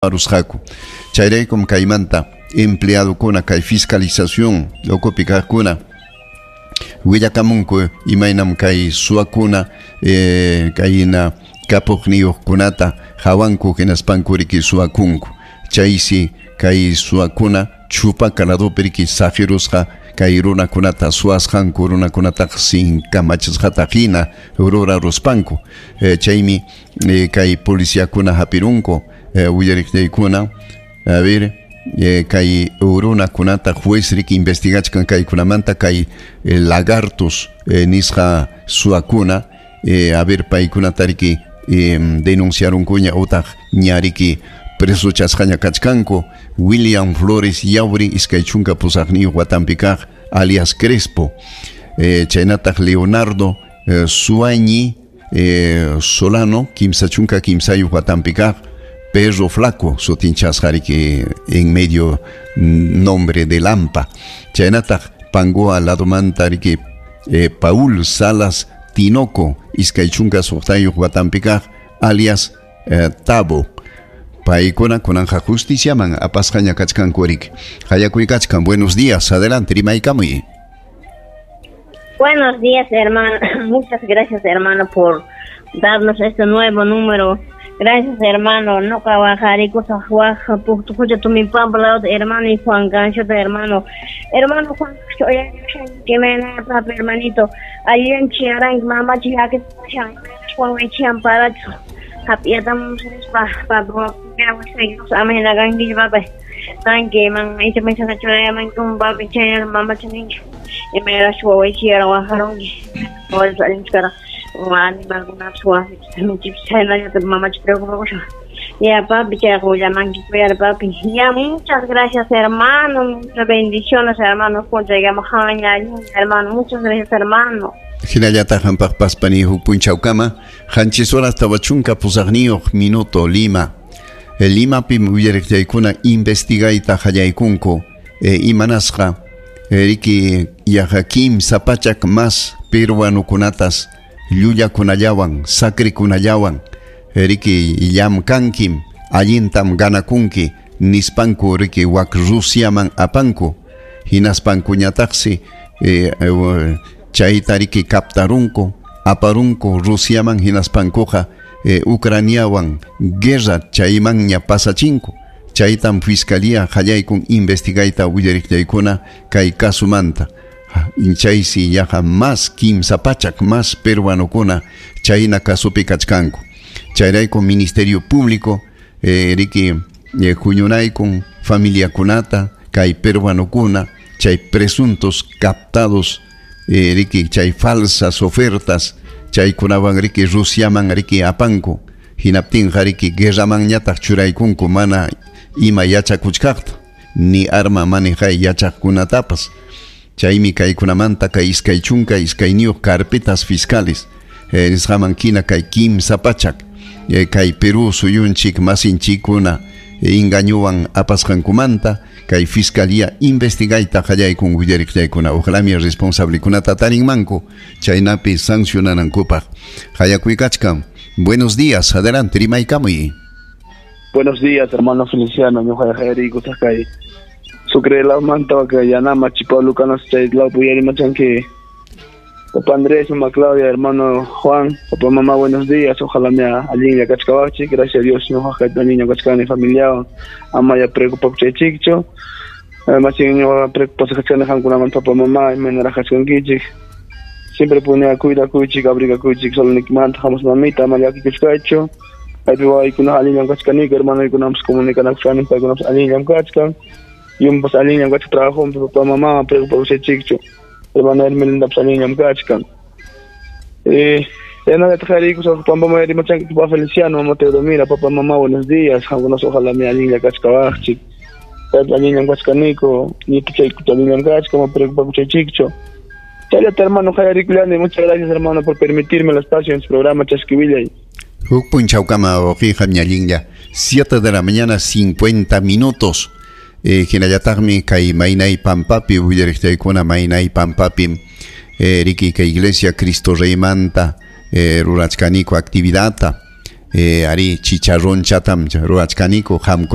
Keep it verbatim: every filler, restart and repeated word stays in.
Rusqaku. Chayraykum kaymanta empleadokuna kay fiscalización ukupi kaqkuna willakamunku imaynam kay suwakuna eh, kayna kapuqniyuqkunata hawanku hinaspanku riki suwakunku. Chaysi kay suwakuna Chupaca ladopi riki saqirusqa kay runakunata suwasqanku, runakunataqa sin kamachisqata hina ruraruspanku. eh, chaymi eh, kay policiakuna hapirunku eh, willariqllaykuna. A ver, eh, kay runakunata juez riki investigachkan kaykunamanta kay eh, lagartos eh, nisqa suwakuna eh, a ver, paykunata riki eh, denunciarunkuña utaq ña riki presochasqaña kachkanku. William Flores Yauri, iskay chunka pusaqniyuq watanpi kaq, alias Crespo, eh, chaynataq Leonardo eh, Suañi eh, Solano, kimsa chunka kimsayuq watanpi kaq, Perro Flaco sutinchasqa riki en medio nombre de Lampa. Chaynataq Pangoa ladomanta riki eh, Paul Salas Tinoco, iskay chunka suqtayuq watanpi kaq, alias eh, Tabo. Paykuna kunanja justiciaman apasqaña kachkanku riki. Hayakuykachkan. Buenos días, adelante, rimaykamuy. Buenos días, hermano. Muchas gracias, hermano, por darnos este nuevo número. Gracias, hermano. No hermano y Juan Gancho, hermano. Hermano Juan que me papi, hermanito. Allí en Chiarán, mamá, chica, que Juan para pa pa pa man man papi mama y me la mamá. Ya, papi, papi. Ya, muchas gracias, hermano. Muchas bendiciones, hermano. Hermano, muchas gracias, hermano. Hinallataq hampaqpas pani, huk punchawkama. Qanchis horas tawa chunka pusaqniyuq minuto. Lima. Limapim willariqllaykuna investigayta qallaykunku e, imanasqa e, riki yaqa kimsa pachak mas peruanukunatas llullakunallawan sakrikunallawan riki llamkankim, allintam ganakunki nispanku riki wak Rusiaman apanku. Hinaspankuñataqsi e, e, chayta riki captarunku, aparunku Rusiaman, hinaspankuqa eh, Ucraniawan guerra chaymanña pasachinku. Chaytam fiscalía qallaykun investigayta willariqllaykuna kay kasumanta. Chaysi yaqa mas kimsa pachak mas peruanokuna chayna kasupi kachkanku. Chayrayku Ministerio Público eh, riki eh, huñunaykun familiakunata kay peruanokuna chay presuntos captados eh, riki chay falsas ofertas chaykunawan riki Rusiaman riki apanku. Hinaptinqa riki guerramanñataq churaykunku mana ima yachakuchkaqta ni arma manejay yachaqkunatapas. Chaymi kaykunamanta kay iskay chunka iskayniyuq carpetas fiscales eh, nisqaman kina kay kimsa pachak eh, kay Perú suyunchik masinchikuna eh, engañuwan apasqankumanta kay fiscalía investigayta qallaykun willariqllaykuna. Ojalá responsablekunata tarinmanku chaynapi sancionanankupaq. Hayakuykachkan. Buenos días, adelante, rimaykamuy. Buenos días, hermano Feliciano, ñuqa kay Sucre la manta que yanama Chipaulo canas chay la puyari machanque. Papá Andrés, mamá Claudia, hermano Juan, papá, mamá, buenos días. Ojalá me allinlla kachkawachi. Gracias a Dios, ñuqa allinlla kachkani familia. Ama ya preocupa chaychikcho. Además, ñuqa preocupa kachkani qamkunaman, papá, mamá, imaynaraq kachkankichik. Siempre pone a cuida kuychik, abriga kuychik, solo nikmanta, hamos mamita, ama llakikuchkaychu. Kaypi wawaykuna allinllam kachkaniku, hermanoykunapas comunicanakuchkani, paykunapas allinllam kachkan. Yumpas allinllam kachkan trabajo, papá, mamá, preocupa chaychikchu. Hermana Hermelinda allinllam kachkan. Eh, nada, papá, mamá, papá Feliciano, mamá Teodomira, papá, mamá, buenos días. Algunos ojalá me allinlla kachkawaqchik. Allinllam kachkaniku, ñituchaykuta allinllam kachkan, ma preocupa chaychikchu. Chayllata, hermano, Jayarikulani, muchas gracias, hermano, por permitirme el espacio en su programa Chasquivillay. Huk punchawkama wawqiyqa, allinlla. siete de la mañana cincuenta minutos. Eh, hinallataqmi kay Maynay Pampapi willariqllaykuna. Maynay Pampapi eh, riki kay iglesia Cristo Reymanta eh, rurachkaniku actividadta. Eh, ari chicharronchatam ruwachkaniku. Qamkuna